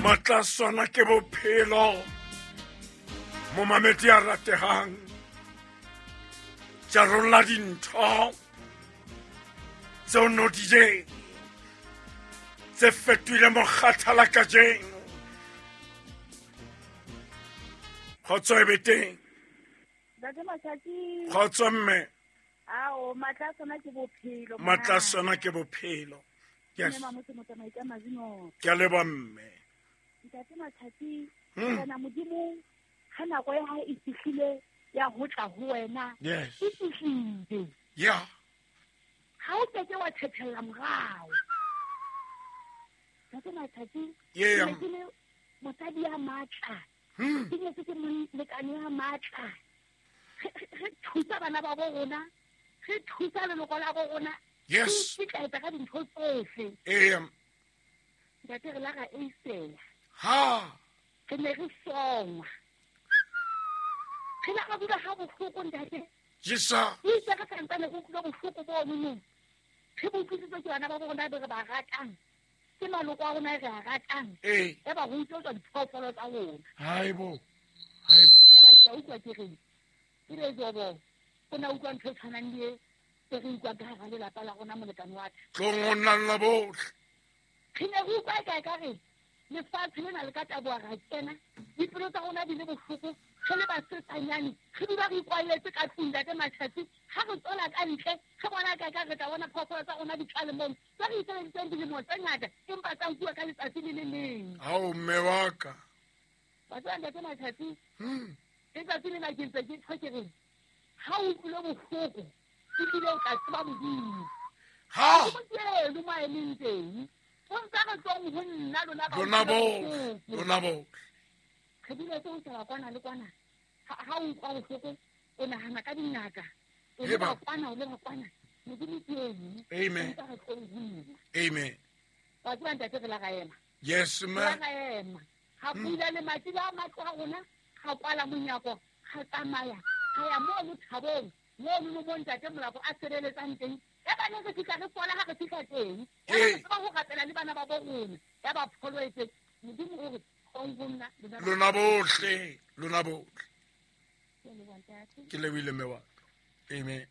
Matla sona ke bophelo. Momamedi ya ratehang. Jarolla dintho tseo no di jeng tse fetohile mokgathala kajeno. Kgotso e be teng. Ntate Masaki. Kgotso mme. Ao, matla a sona ke bophelo. Matla a sona ke bophelo. Yes. Mme Mamotse motsamai ka mazino. Ke a leboha mme. Ntate Masaki, Morena Modimo ha nako ya hae e fihlile ya ho tla ho wena. Yes. E fihlile. Yeah. Ha o keke wa thethella morao. Ntate Masaki, Yeah. ke ne ke le mosadi ya matla. Ke nyetse ke molekane ya matla. Re thusa bana ba bo rona, re thusa leloko la bo rona. Yes. Re ikitlaetsa ka dintho tsohle. Ee. Ntate re la ra eisela. Ha. Re ne re songwa. Re la ra dula ha bohloko ntate. Jesa. Itse re santsane re utlwile bohloko bono no. Re bo utlwisitswe ke bana ba bo rona be re ba ratang. Ke maloko a rona e re a ratang. Ee. E ba re utlwetswa diphoofolo tsa rona. Haibo. Haibo. Ya ba ke a utlwa ke reng. Ebe Jobo, o na utlwa ntho e tshwanang le e e re utlwang ka hara lelapa la rona molekane wa ka. Tlong o nna bohle. Re ne re utlwa e ka e ka re lefatshe lena le ka taboha ra kena, dipelo tsa rona di le bohloko, re le basetsanyane, re dula re ikwalletse ka tlung ntate Matjhatsi, ha re tswela ka ntle, re bona ka ka re tla bona phoofolo tsa rona di tlale mono, tse re itseleditseng dilemo tse ngata, empa tsa nkuwa ka letsatsi le le leng. Ao mme wa ka. Wa tseba ntate Matjhatsi, letsatsi lena ke ntse ke tjho ke reng, ha o utlwile bohloko, ebile o tla tseba Modimo. Ha. Modimo ke eno mo a emeng teng. O ntsa re tswang ho nna lona ba Lona utlwile bohle. bohloko. Lona bohle. Re dule tse ho sheba kwana le kwana. Ha o utlwa bohloko, o nahana ka dingaka. O Eba. leba kwana, o leba kwana. Modimo ke eno. Amen. O ntsa re tlong ho nna. Amen. Wa tseba ntate re la ra ema. Yes, Re ma'am. la ra ema. Ga pula lemati la matlo a rona, ga kwala monyako, ga tsamaya, ga ya mono thabong, mono mo mo ntate Molapo a sebeletsang teng. Ya ba ne re fihla re fola ha re fihla teng. Ya ba re Ee. tseba ho rapela le bana ba bo rona. Ya ba pholo e teng. Modimo o re, tlong ho nna, lona ba- Lona bohle, lona bohle. Ke a leboha, ntate. Ke lebohile mme wa ka. Amen.